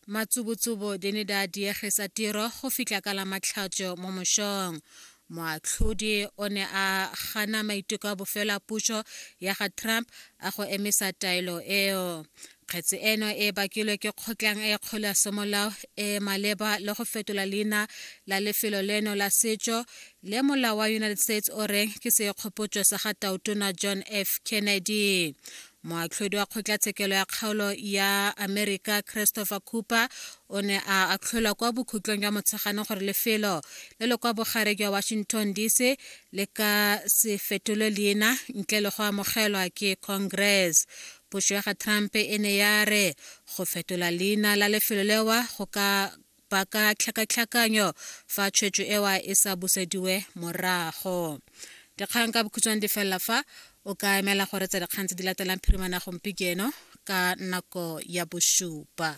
Matsubutsubu di ne di a diegisa tiro go fitlha ka la Matlhatso mo mosong. Moatlhodi o ne a gana maiteko a bofelo a puso ya ga Trump a go emisa taelo eo. Kgetse eno e bakilwe ke kgotlang e kgolo ya semolao e maleba le go fetola leina la lefelo leno la setso le molao wa United States o reng ke sekgopotso sa ga Tautona John F. Kennedy. Moatlhodi wa kgotlatshekelo ya kgaolo ya Amerika Christopher Cooper o ne a atlholwa kwa bokhutlong jwa Motsheganong gore lefelo le le kwa bogare jwa Washington DC le ka se fetolwe leina ntle le go amogelwa ke Congress. Puso ya ga Trump e ne ya re go fetola leina la lefelo lewa go ka baka tlhakatlhakanyo fa tshwetso ewa e sa busediwe morago. Dikgang ka bokhutshwane di felela fa o ka emela go retsa dikgang tse di latelang phirimana gompieno ka nako ya bosupa.